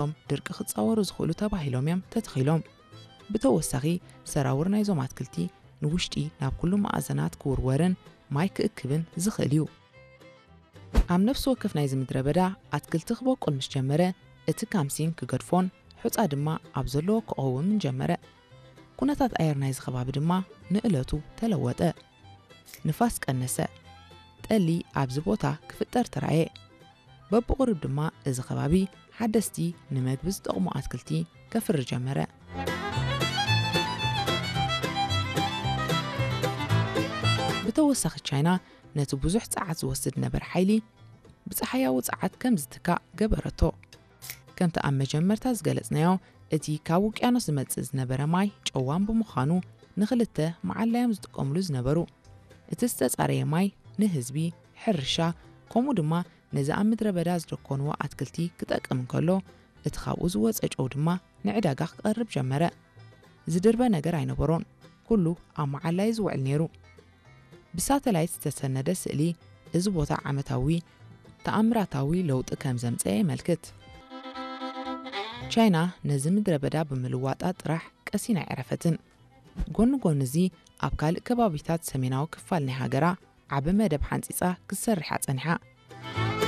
እቶም ድርቂ ክጻወሩ ዝኽእሉ ተባሂሎም እዮም ተተኺሎም። ብተወሳኺ፣ ሰራውር ናይዞም ኣትክልቲ ንውሽጢ ናብ ኩሉ መኣዘናት ክውርወርን ማይ ክእክብን ዝኽእል እዩ። ኣብ ነፍሲ ወከፍ ናይዚ ምድረ በዳ ኣትክልቲ ክበቁል ምስ ጀመረ፣ እቲ ካምሲን ክገድፎን ሑጻ ድማ ኣብ ዘለዎ ክቐውምን ጀመረ። ኩነታት ኣየር ናይዚ ከባቢ ድማ ንእለቱ ተለወጠ። ንፋስ ቀነሰ። ጠሊ ኣብዚ ቦታ ክፍጠር ተራእየ። በብቑሩብ ድማ እዚ ከባቢ ሓደስቲ ንመግቢ ዝጠቕሙ ኣትክልቲ ከፍሪ ጀመረ። ብተወሳኺ፣ ቻይና ነቲ ብዙሕ ጸዓት ዝወስድ ነበረ ሓይሊ ብጸሓያዊ ጸዓት ከም ዝትካእ ገበረቶ። ከምቲ ኣብ መጀመርታ ዝገለጽናዮ፣ እቲ ካብ ውቅያኖስ ዝመጽእ ዝነበረ ማይ ጨዋን ብምዃኑ፣ ንኽልተ መዓላዮም ዝጥቀምሉ ዝነበሩ። እቲ ዝተጻረየ ማይ ንህዝቢ፣ ሕርሻ፣ ከምኡ ድማ ነዚ ኣብ ምድረ በዳ ዝደኮንዎ ኣትክልቲ ክጠቅም እንከሎ፣ እቲ ካብኡ ዝወጸ ጨው ድማ ንዕዳጋ ክቐርብ ጀመረ። ዝድርበ ነገር ኣይነበሮን። ኩሉ ኣብ መዓላ እዩ ዝውዕል ነይሩ። ብሳተላይት ዝተሰነደ ስእሊ እዚ ቦታ ዓመታዊ ተኣምራታዊ ለውጢ ከም ዘምጸአ የመልክት። ቻይና ነዚ ምድረ በዳ ብምልዋጣ ጥራሕ ቀሲና ኣይዕረፈትን። ጎኒ ጎኒ እዚ፣ ኣብ ካልእ ከባቢታት ሰሜናዊ ክፋል ናይ ሃገራ ዓቢ መደብ ሓንጺጻ ክትሰርሕ ኣጸኒሓ።